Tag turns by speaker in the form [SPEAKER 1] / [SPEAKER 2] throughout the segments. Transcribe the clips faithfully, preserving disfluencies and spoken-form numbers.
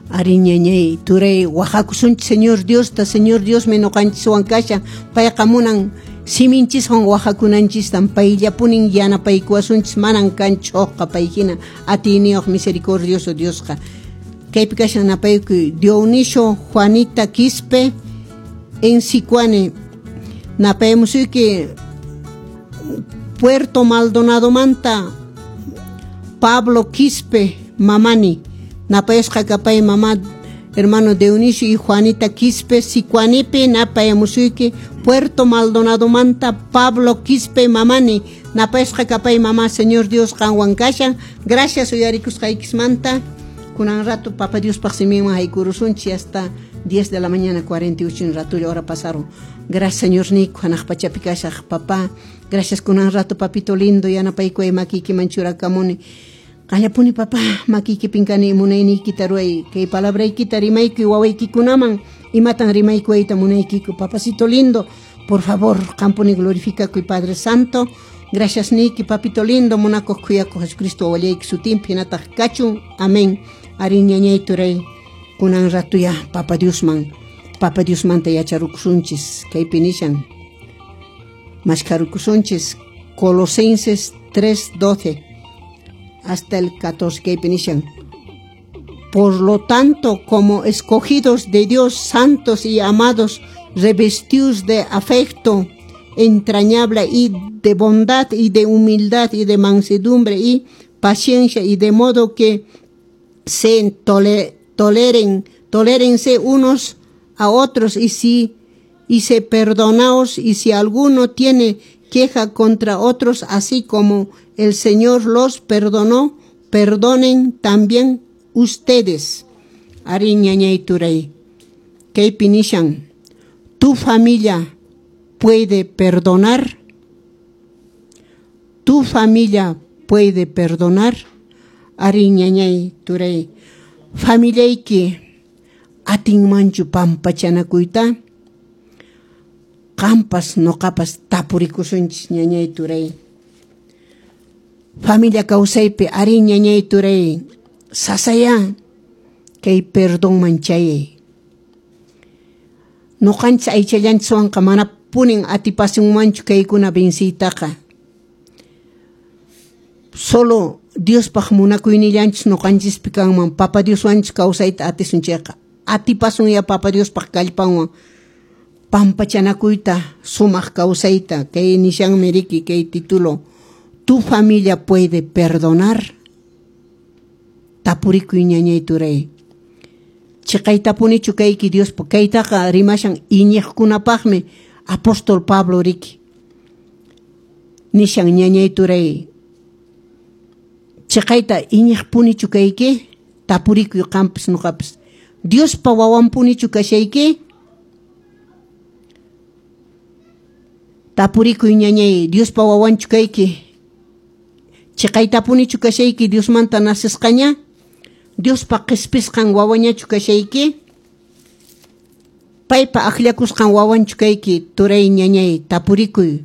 [SPEAKER 1] Ari ñañay turay wahakusunchis Señor Diosta, Señor Diosmi ñuqanchiswan kashan, payqa munan siminchiswan wahakunanchistan, payllapunin yanapaykuwasunchis, manan kanchu hukqa pay hina atiyniyuq misericordioso Diosqa. Kaypi kashan napaykuy Dionisio Juanita Quispe en Sicuani, napayamusuyki Puerto Maldonadomanta Pablo Quispe Mamani, napayasqa kapay mamá hermano Dionisio y Juanita Quispe Sicuanipi, napayamusuyki Puerto Maldonadomanta Pablo Quispe Mamani, napayasqa kapay mamá, Señor Dios qanwan kashan. Gracias uyarikusqaykismanta. Kunan rato Papa Diospaq siminman haykurusunchis hasta diez de la mañana cuarenta y ocho ratullo hora pasaron. Gracias Señor Nico, hanaq pachapi kashaq papá. Gracias kunan rato papito lindo yanapaykuway makiykiman churakamuni. Qallapuni papá makiykipin kani munayniykita ruway, kay palabraykita rimaykuy wawaykikunaman, imatan rimaykuwayta munaykiku papacito lindo, por favor qampuni glorifikakuy Padre Santo. Gracias niyki papito lindo, munakuq khuyakuq Jesucristo wawallayki sutinpi hinataq kachun. Amén. Ari ñañay turay kunan rato ya Papa Diosman, Papa Diosmanta yacharukusunchis, kaypi nishan mashkharukusunchis Colosenses tres doce hasta el catorce, kaypi nishan: Por lo tanto, como escogidos de Dios, santos y amados, revestidos de afecto entrañable y de bondad y de humildad y de mansedumbre y paciencia, y de modo que se tole-, toleren, tolérense unos a otros y si, y se perdonaos, y si alguno tiene queja contra otros, así como el Señor los perdonó, perdonen también ustedes. Ari ñañay turay, kaypi nishan: tu familia puede perdonar, tu familia puede perdonar. Ari ñañay turay, familiayki atinmanchu pampachanakuyta? Qampas noqapas tapurikusunchis ñañay turay. Familia kawsaypi ari ñañay turay, sasaya kay perdonman chayay. Noqanchis aychallanchiswanqa mana punin atipasunmanchu kaykuna venciytaqa. Solo Diospaq munakuynillanchis noqanchispi kanman, Papa Dioswanchis kawsayta atisun chayqa. Atipasun ya Papa Diospaq kallpanwan pampachanakuyta, sumaq kawsayta. Kay nishanmi riki kay título: Tu familia puede perdonar. Tapurikuy ñañay turay. Chiqaytapunichu kayki Diospa kaytaqa rimashan iñiqkunapaqmi apóstol Pablo riki. Nishan ñañay turay. Chiqayta iñiqpunichu kayki? Tapurikuy qampas noqapas. Diospa wawanpunichu kashayki? Tapurikuy ñañay, Diospa wawanchu kayki? Chiqaytapunichu kashayki Diosmanta nasisqaña? Diospa qhispisqan wawañachu kashayki? Paypa akllakusqan wawanchu kayki? Turay ñañay, tapurikuy.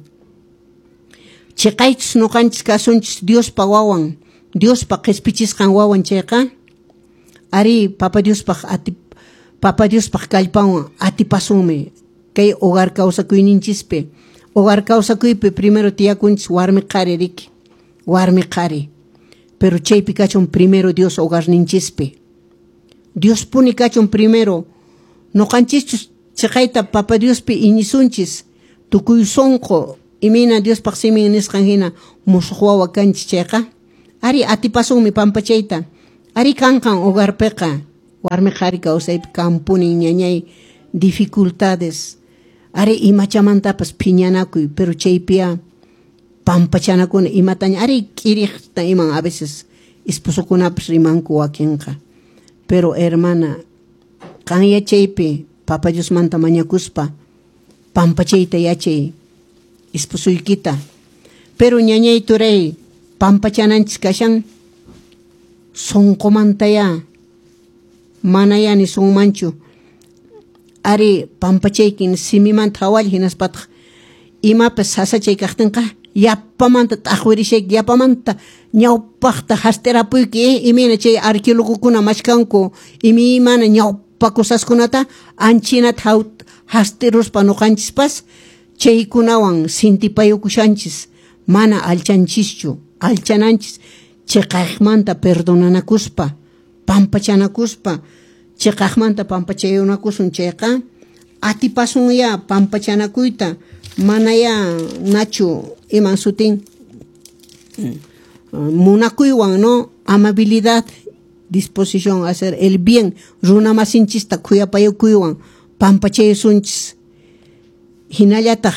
[SPEAKER 1] Chiqaychus noqanchis kasunchis Diospa wawan, Diospa qhispichisqan wawan chayqa, ari Papa Diospaq ati, Papa Diospaq kallpanwan atipasunmi kay hogar kawsakuyninchispi. Hogar kawsakuypi primero tiyakunchis warmi qhari riki, warmi qhari. Pero chaypi kachun primero Dios hogarninchispi. Dios puni kachun primero. Noqanchischus chiqayta Papa Diospi iñisunchis, tukuy sunqu imayna Diospaq simin nisqan hina musuq wawa kanchis chayqa, ari atipasunmi pampachayta. Ari kanqan hogarpiqa warmi qhari kawsaypi kampunin ñañay dificultades. Ari imachamantapas phiñanakuy, pero chaypiya pampachanakuna imataña ari k'iriqta iman a veces esposokunapas rimanku wakinqa. Pero hermana, qan yachaypi Papa Diosmanta mañakuspa pampachayta yachay esposoykita. Pero ñañay turay pampachananchis kashan sunqumantaya manaya nisunmanchu. Ari pampachaykin simimanta hawalla hinaspataq imapas sasachay kaqtinqa Yapamanta t'aqwirishayki, yapamanta ñawpaqta hasterapuyki, eh? Imayna chay arqueólogokuna mashkanku, imaymana ñawpa cosaskunata anchinata hasteruspa nuqanchispas chaykunawan sintipayukushanchis, mana alchanchischu, alchananchis chiqaqmanta perdonanakuspa, pampachanakuspa, chiqaqmanta pampachayunakusun chayqa atipasun ya pampachanakuyta, mana ya nachu iman sutin munakuywan, no, amabilidad, disposición a hacer el bien, runa masinchista khuyapayukuywan pampachayusunchis. Hinallataq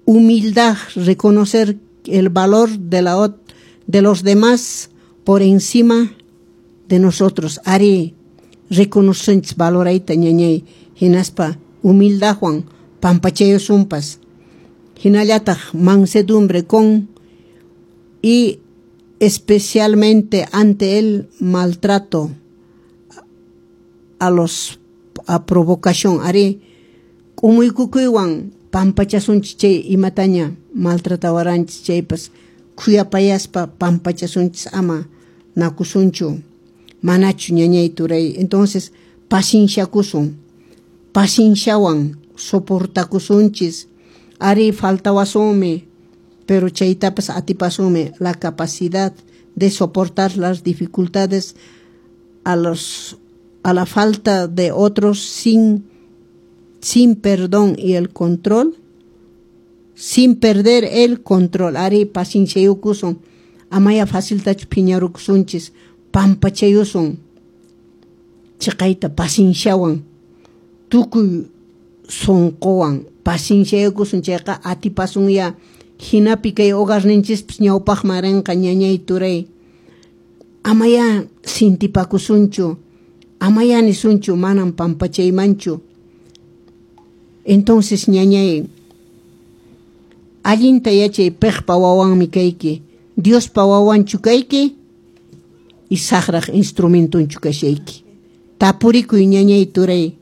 [SPEAKER 1] humildad, reconocer el valor de la de los demás por encima de nosotros. Ari reconocenchis valorayta ñañay, hinaspa humildadwan pampachayusunpas. Hinallataq mansedumbre con y especialmente ante el maltrato a los a provocación. Ari k'umuykukuywan pampachasunchis chay imataña maltratawaranchis chaypas khuyapayaspa pampachasunchis, ama nakusunchu, manachu ñañay turay. Entonces pacienciakusun, pacienciawan soportakusunchis. Ari faltawasunmi, pero chaytapas atipasunmi, la capacidad de soportar las dificultades a los a la falta de otros sin sin perdón y el control, sin perder el control. Ari pacienciayukusun, amaya faciltachu phiñarukusunchis, pampachayusun chiqayta pacienciawan, tukuy sunquwan pacienciayukusun chayqa atipasun ya. Hinapi kay hogarninchispas ñawpaqman rinqa ñañay turay. Amaya sintipakusunchu, amaya nisunchu manam pampachaymanchu. Entonces ñañay, allinta yachay piqpa wawanmi kayki, Diospa wawanchu kayki y saqraq instrumentunchu kashayki. Tapurikuy ñañay turay.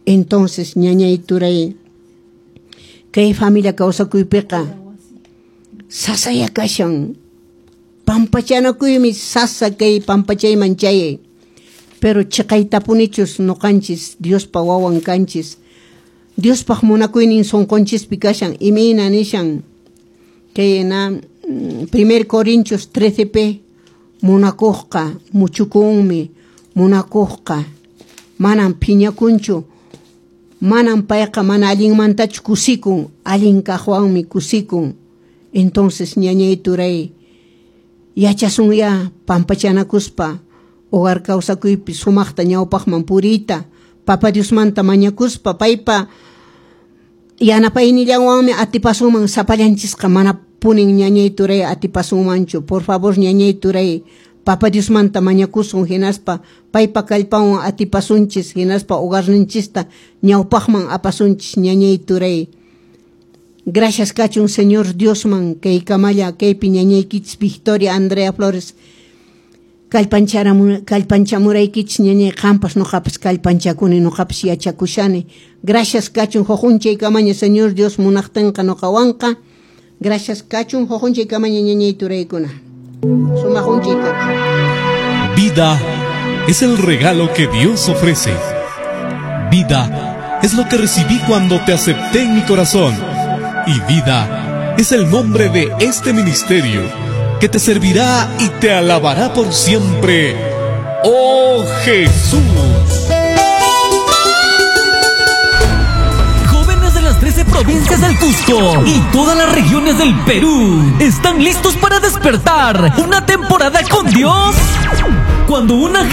[SPEAKER 1] Entonces ñañay turay, kay familia kawsakuypiqa sasaya kashan, pampachanakuymi sasa kay pampachayman chayay. Pero chiqaytapunichus nuqanchis Diospa wawan kanchis, Diospaq munakuynin sunqunchispi kashan. Imayna nishan kay na primer Corintios trece p, munakuqqa muchukunmi, munakuqqa manam phiñakunchu, manam payqa mana allinmantachu kusikun, allin kaqwanmi kusikun. Entonces ñañay turay, yachasun ya pampachanakuspa hogar kawsakuypi sumaqta ñawpaqman puriyta, Papa Diosmanta mañakuspa, paypa yanapaynillanwanmi atipasunman sapallanchisqa, mana punin ñañay turay atipasunmanchu. Por favor ñañay turay, Papa Diosmanta mañakusun, hinaspa paypa kallpanwan atipasunchis, hinaspa hogarninchista ñawpaqman apasunchis ñañay turay. Gracias kachun Señor Diosman kay kamalla kaypi ñañaykichis Victoria Andrea Flores kallpanchamuraykichis ñañay, qampas nuqapas kallpanchakuni, nuqapas yachakushani. Gracias kachun hujunchay kamaña Señor Dios munaqtinqa nuqawanqa. Gracias kachun hujunchay kamaña ñañay turaykuna. Sumaq unchay kachun.
[SPEAKER 2] Vida es el regalo que Dios ofrece. Vida es lo que recibí cuando te acepté en mi corazón. Y vida es el nombre de este ministerio que te servirá y te alabará por siempre. ¡Oh Jesús!
[SPEAKER 3] Jóvenes de las trece provincias del Cusco y todas las regiones del Perú, ¿están listos para despertar una temporada con Dios? Cuando una generación